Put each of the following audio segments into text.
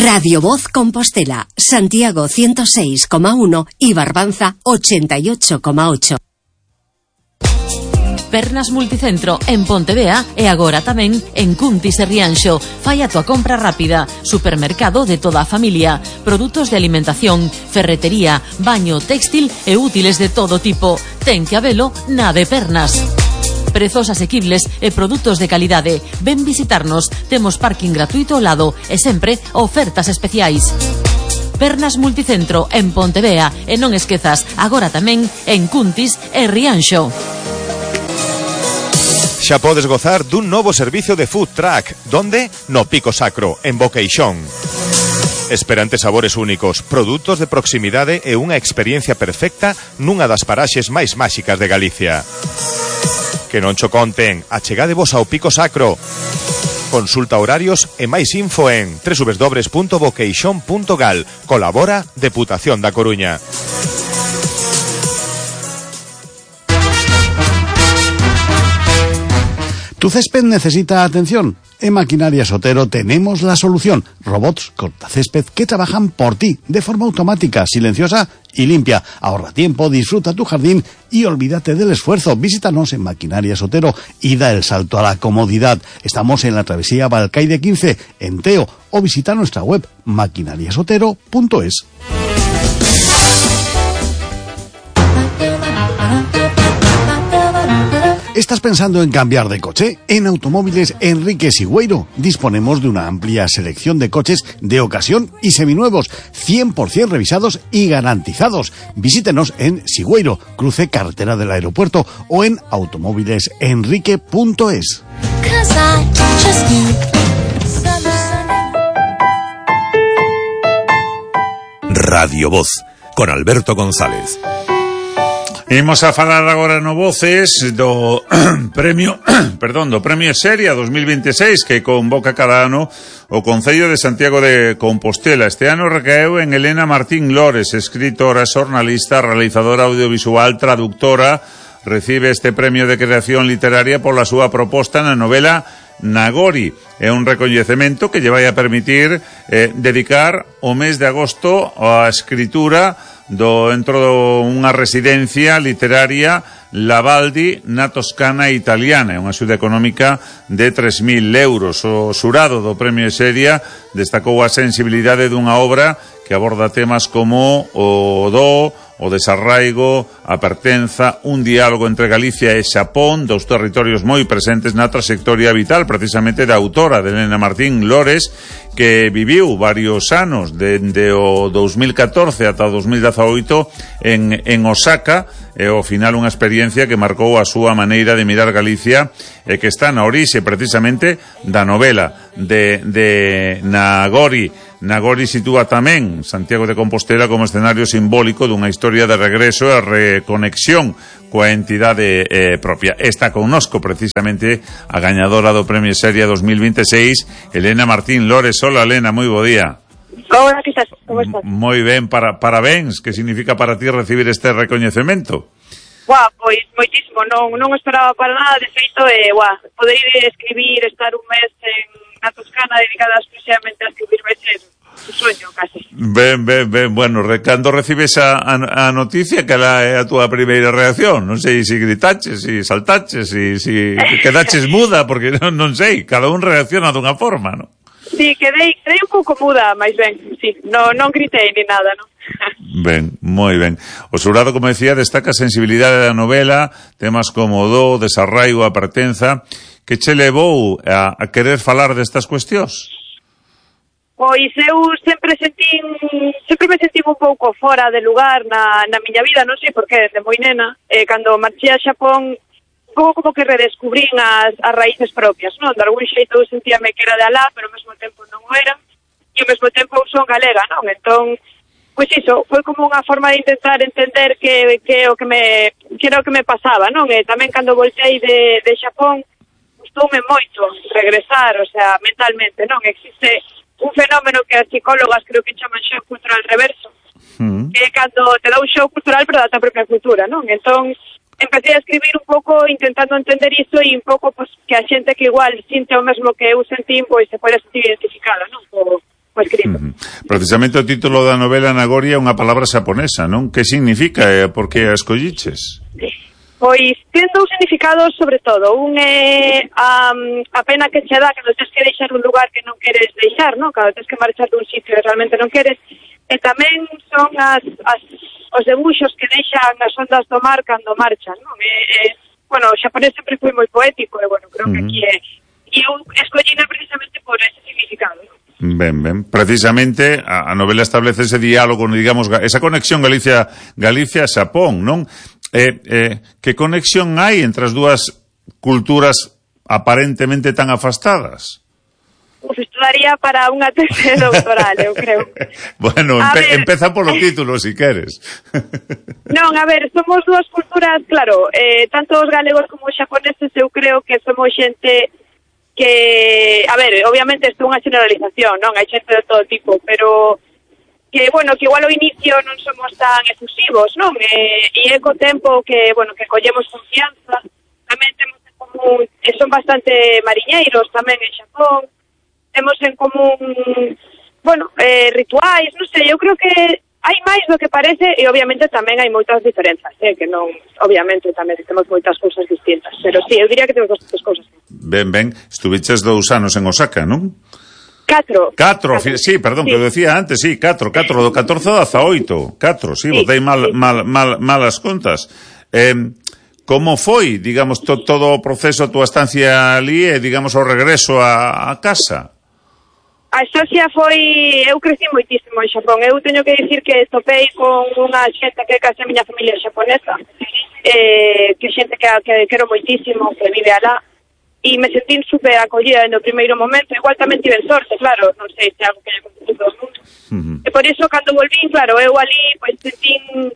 Radio Voz Compostela, Santiago 106,1 y Barbanza 88,8. Pernas Multicentro en Pontevea e agora tamén en Cuntis e Rianxo. Fai a tua compra rápida. Supermercado de toda a familia. Produtos de alimentación, ferretería, baño, textil e útiles de todo tipo. Ten que habelo na de Pernas. Prezos asequibles e produtos de calidade. Ven visitarnos. Temos parking gratuito ao lado e sempre ofertas especiais. Pernas Multicentro en Pontevea e non esquezas, agora tamén en Cuntis e Rianxo. Xa podes gozar dun novo servicio de food truck. Donde? No Pico Sacro, en Boqueixón. Esperantes sabores únicos, produtos de proximidade e unha experiencia perfecta nunha das paraxes máis máxicas de Galicia. Que non cho conten, achegadevos ao Pico Sacro. Consulta horarios e máis info en www.boqueixón.gal. Colabora Deputación da Coruña. Tu césped necesita atención. En Maquinaria Sotero tenemos la solución. Robots cortacésped que trabajan por ti de forma automática, silenciosa y limpia. Ahorra tiempo, disfruta tu jardín y olvídate del esfuerzo. Visítanos en Maquinaria Sotero y da el salto a la comodidad. Estamos en la travesía Balcaide 15, en Teo, o visita nuestra web maquinariasotero.es. ¿Estás pensando en cambiar de coche? En Automóviles Enrique Sigüeiro disponemos de una amplia selección de coches de ocasión y seminuevos, 100% revisados y garantizados. Visítenos en Sigüeiro, cruce carretera del aeropuerto, o en automóvilesenrique.es. Radio Voz, con Alberto González. Imos a falar agora no Voces do premio, do Premio Seria 2026 que convoca cada ano o Concello de Santiago de Compostela. Este ano recaeu en Elena Martín Lores, escritora, xornalista, realizadora audiovisual, traductora. Recibe este premio de creación literaria pola súa proposta na novela Nagori. É un recoñecemento que lle vai a permitir dedicar o mes de agosto á escritura dentro dunha residencia literaria Lavaldi na Toscana italiana, unha axuda económica de 3.000 euros. O xurado do Premio Seria destacou a sensibilidade dunha obra que aborda temas como o desarraigo, a pertenza, un diálogo entre Galicia e Xapón, dos territorios moi presentes na trayectoria vital precisamente da autora, de Elena Martín Lores, que viviu varios anos, dende o 2014 ata o 2018 en Osaka, e ao final unha experiencia que marcou a súa maneira de mirar Galicia e que está na orixe precisamente da novela de Nagori. Nagori sitúa tamén Santiago de Compostela como escenario simbólico dunha historia de regreso e reconexión coa entidade propia. Está connosco precisamente a gañadora do Premio Seria 2026, Elena Martín Lores. Hola, Elena, moi bo día. Hola, que estás? Como estás? Moi ben, parabéns. Que significa para ti recibir este recoñecemento? Pois moitísimo, non esperaba para nada, de feito, poder ir escribir, estar un mes na Toscana dedicada exclusivamente a escribir veces un sueño, casi. Ben, bueno, cando recibes a noticia, que é a túa primeira reacción? Non sei se gritaches, se saltaches, se quedaches muda, porque non sei, cada un reacciona dunha forma, non? Sí, quedei un pouco muda, máis ben, sí, non gritei ni nada, non? Ben, moi ben. O xurado, como decía, destaca a sensibilidade da novela, temas como o desarraigo, a pertenza. Que che levou a querer falar destas cuestións? Pois eu sempre me sentín un pouco fora de lugar na miña vida, non sei por que, desde moi nena, cando marchei a Xapón, un pouco como que redescubrín as raíces propias, non? De algún xeito eu sentíame que era de alá, pero ao mesmo tempo non o era, e ao mesmo tempo eu son galega, non? Entón, pois iso, foi como unha forma de intentar entender que era o que me pasaba, non? E tamén cando voltei de Xapón, gustoume moito regresar, o sea, mentalmente, non? Existe un fenómeno que as psicólogas creo que chaman shock cultural reverso, que é cando te dá un shock cultural pero da tua propia cultura, non? Entón, empecé a escribir un pouco intentando entender iso e un pouco pues, que a xente que igual sinte o mesmo que eu sentín, pois se pode sentir identificada, non? O escrito. Precisamente o título da novela Nagoria é unha palabra xaponesa, non? Que significa e por que a escolliches? Pois ten dous significados sobre todo. Un é a pena que che dá cando tens que deixar un lugar que non queres deixar, non? Cando tens que marchar dun sitio que realmente non queres. E tamén son os debuxos que deixan as ondas do mar cando marchan, non? Bueno, o xaponés sempre foi moi poético e, bueno, creo que aquí é... E eu escollina precisamente por ese significado, non? Ben. Precisamente a novela establece ese diálogo, digamos, esa conexión Galicia-Xapón, non? Que conexión hai entre as dúas culturas aparentemente tan afastadas? Pues estudaría para unha tese doctoral, eu creo. Bueno, empeza polo título, si queres. Non, a ver, somos dúas culturas, claro, tanto os galegos como os xaponeses, eu creo que somos xente que, a ver, obviamente isto é unha generalización, non? Hai xente de todo tipo, pero que, bueno, que igual ao inicio non somos tan efusivos, non? E é co tempo que, bueno, que collemos confianza, tamén temos en común, son bastante mariñeiros tamén en Xapón, temos en común, bueno, rituais, non sei, eu creo que hai máis do que parece e obviamente tamén hai moitas diferenzas, que non, obviamente tamén temos moitas cousas distintas, pero sí, eu diría que temos bastantes cousas. Ben, estuviches 2 anos en Osaka, non? 4, sí, perdón, sí. Que eu decía antes, sí, 4, do 14 ao 18, 4, sí, botei malas contas. Como foi, digamos, todo o proceso, a túa estancia ali e, digamos, o regreso a casa? A estancia foi... Eu crecí moitísimo en Xapón. Eu teño que dicir que topei con unha xente que é case a miña familia xaponesa, que xente que quero moitísimo, que vive alá, e me sentí super acollida no primeiro momento. Igual tamén tive sorte, claro, non sei se é algo que lle acontece a todo o mundo. E por iso, cando volvín, claro, eu ali, pois, sentín...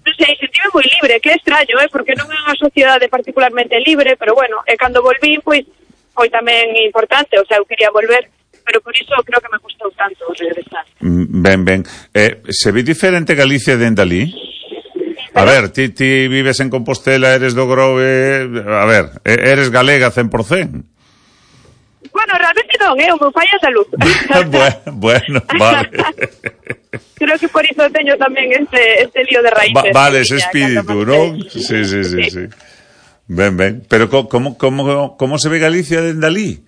Non sei, sentíme moi libre, que é extraño, porque non é unha sociedade particularmente libre, pero bueno, e cando volvín, pois, foi tamén importante, o sea, eu quería volver, pero por iso creo que me custou tanto regresar. Ben. Se ve diferente Galicia dende ali? A ver, ti vives en Compostela, eres do Grove, a ver, eres galega 100%? Bueno, realmente non, o meu pai é andaluz. Bueno, vale. Creo que por iso teño tamén este lío de raíces. Vale, ese espírito, non? Sí. Ben. Pero como se ve Galicia dende ali?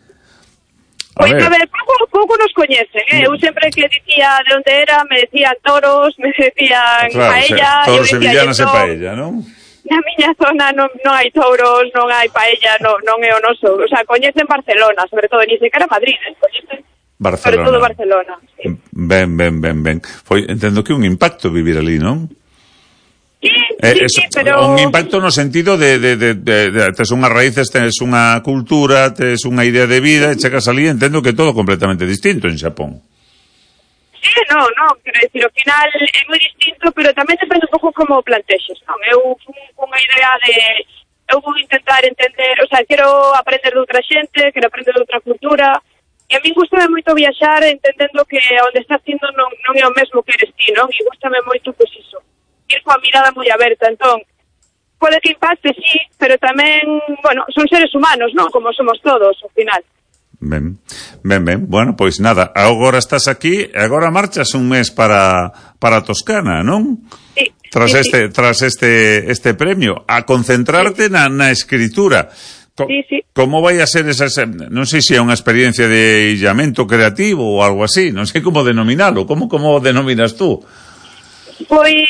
Pois, a ver, pouco nos coñecen, Eu sempre que dicía de onde era, me decían toros, me decían paella... Toros sevillanas e paella, non? Na miña zona non hai touros, non hai paella, non é o noso. O sea, coñecen Barcelona, sobre todo, ni sequera Madrid, coñecen Barcelona. Sobre todo Barcelona. Sí. Ben. Entendo que un impacto vivir ali, non? Sí, pero... Un impacto no sentido de tes unhas raíces, tes unha cultura, tes unha idea de vida, e chegas ali, entendo que todo completamente distinto en Xapón. Sí, non, quero dicir, ao final é moi distinto, pero tamén depende un pouco como plantexes, non? Eu fui con unha idea de... Eu vou intentar entender, o sea, quero aprender de outra xente, quero aprender de outra cultura, e a mí gustame moito viaxar entendendo que onde estás indo non é o mesmo que eres ti, non? E gustame moito, pois iso, ir coa mirada moi aberta, entón, pode que impacte, sí, pero tamén, bueno, son seres humanos, non? Como somos todos, ao final. Ben. Bueno, pois nada, agora estás aquí, agora marchas un mes para Toscana, non? Sí. Tras este premio, a concentrarte na escritura. Sí. Como vai a ser esa, non sei se é unha experiencia de illamento creativo ou algo así, non sei como denominalo, como denominas tú? Pois,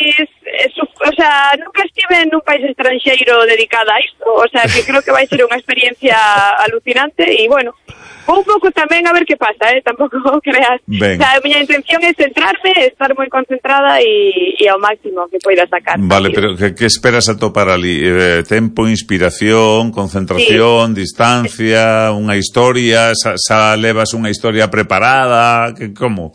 o sea, nunca estive nun país estranxeiro dedicada a isto, o sea, que creo que vai ser unha experiencia alucinante e, bueno, un pouco tamén a ver que pasa, tampouco creas. Ben. O sea, a miña intención é centrarme, estar moi concentrada e ao máximo que poida sacar. Vale, pero que esperas atopar ali? Tempo, inspiración, concentración, distancia, unha historia, xa levas unha historia preparada, como?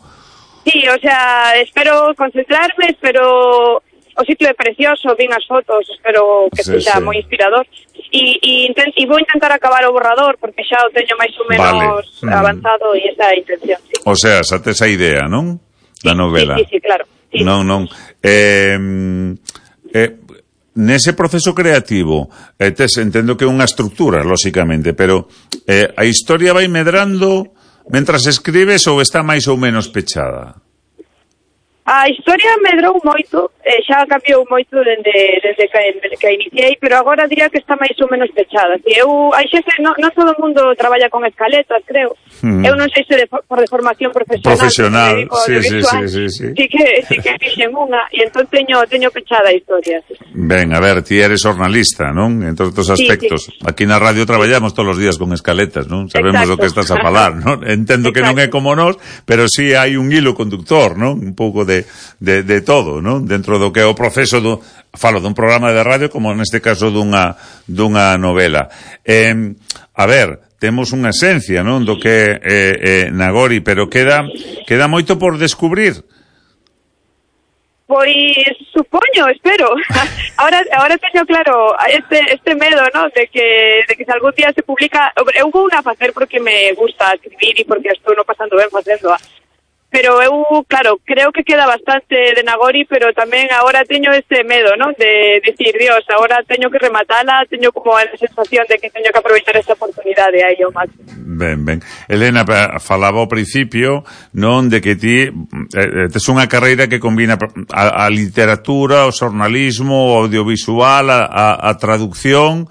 Sí, o sea, espero concentrarme, espero... O sitio é precioso, vin as fotos, espero que sexa moi inspirador. E vou intentar acabar o borrador, porque xa o teño máis ou menos avanzado e esa é a intención. Sí. O sea, xa tes a idea, non? Da novela. Sí, claro. Sí. Non. nese proceso creativo, entendo que é unha estructura, lóxicamente, pero a historia vai medrando mentras escribes ou está máis ou menos pechada? A historia medrou moito, xa cambiou moito desde que iniciei, pero agora diría que está máis ou menos pechada. Si hai xente, non todo o mundo traballa con escaletas, creo. Eu non sei se por de formación profesional, sí. Sí que fixen unha, e entón teño pechada a historia. Ben, a ver, ti eres jornalista, non? En todos estos aspectos. Sí. Aquí na radio traballamos todos os días con escaletas, non? Sabemos o que estás a falar, non? Entendo que non é como nós, pero sí hai un hilo conductor, non? Un pouco de todo, non? Dentro do que é o proceso falo dun programa de radio como neste caso dunha novela. A ver, temos unha esencia, non? Do que é Nagori, pero queda moito por descubrir. Pois supoño, espero. Ahora teño claro este medo, ¿no? De que se algún día se publica. Eu vou a facer porque me gusta escribir e porque estou no pasando ben facendo. Pero eu, claro, creo que queda bastante de Nagori, pero tamén agora teño este medo, ¿no? De decir, Dios, agora teño que rematala, teño como a sensación de que teño que aproveitar esta oportunidade aí ao máximo. Ben. Elena, falaba ao principio, non, de que ti tes unha carreira que combina a literatura, o xornalismo, o audiovisual, a traducción.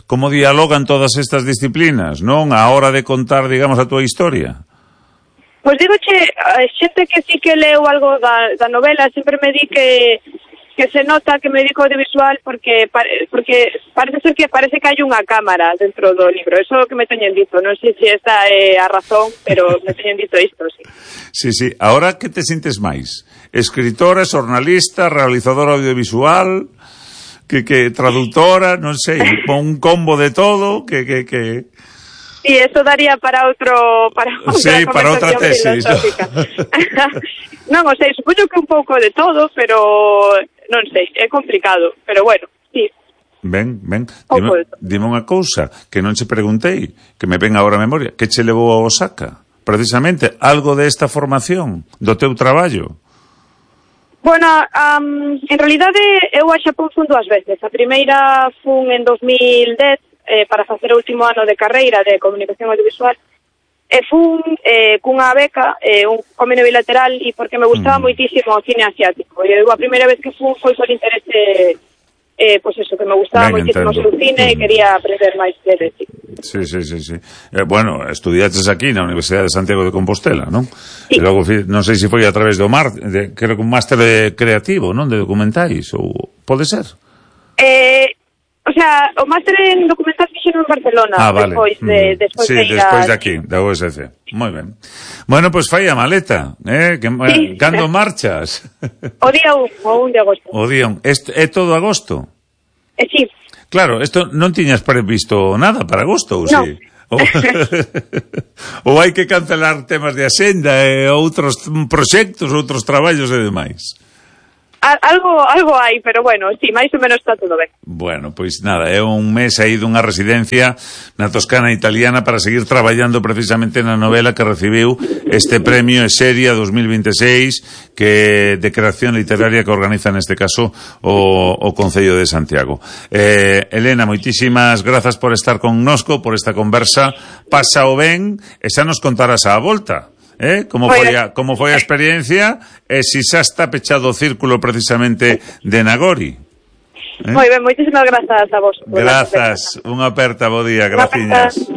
Como dialogan todas estas disciplinas, non? A hora de contar, digamos, a túa historia. Pois digoche, xente que sí que leo algo da novela, sempre me di que se nota que me dedico ao audiovisual porque parece ser que parece que hai unha cámara dentro do libro. Eso que me teñen dito, non sei se esta é a razón, pero me teñen dito isto, sí. Sí. Ahora que te sintes máis? Escritora, xornalista, realizadora audiovisual, que traductora, non sei, un combo de todo, que... Sí, eso daría para outra conversación filosófica. Non, o sei, supoño que un pouco de todo, pero non sei, é complicado, pero bueno, sí. Ben, dime unha cousa que non che preguntei, que me ven agora a memoria, que che levou a Osaka? Precisamente, algo desta formación, do teu traballo? Bueno, en realidade eu a Xapón fun 2 veces. A primeira fun en 2010, para facer o último ano de carreira de comunicación audiovisual, e fun cunha beca, un convenio bilateral, e porque me gustaba moitísimo o cine asiático. E a primeira vez que fun foi por interese, pois eso, que me gustaba moitísimo o seu cine e quería aprender máis dele. Sí. Bueno, estudiaches aquí na Universidade de Santiago de Compostela, non? Sí. E logo, non sei se foi a través do creo que un máster creativo, non? De documentais, ou pode ser? O sea, o máster en documental fixeron en Barcelona, vale. Despois de aquí, da USC. Moi ben. Bueno, pois fai a maleta, sí. Cando marchas? O día 1 de agosto. O día 1. É todo agosto? Sí. Claro, isto non tiñas previsto nada para agosto, ou no. Sí? Ou hai que cancelar temas de axenda e outros proxectos, outros traballos e demais? Algo hai, pero bueno, sí, máis ou menos está todo ben. Bueno, pois nada, é un mes aí dunha residencia na Toscana italiana para seguir traballando precisamente na novela que recibiu este premio Eseria 2026 de creación literaria que organiza neste caso o Concello de Santiago. Elena, moitísimas grazas por estar connosco, por esta conversa. Pásao ben e xa nos contarás á volta. Como foi a experiencia e se xa está pechado o círculo precisamente de Nagori. Moi ben, moitísimas grazas a vos. Grazas, unha aperta, bo día, graciñas.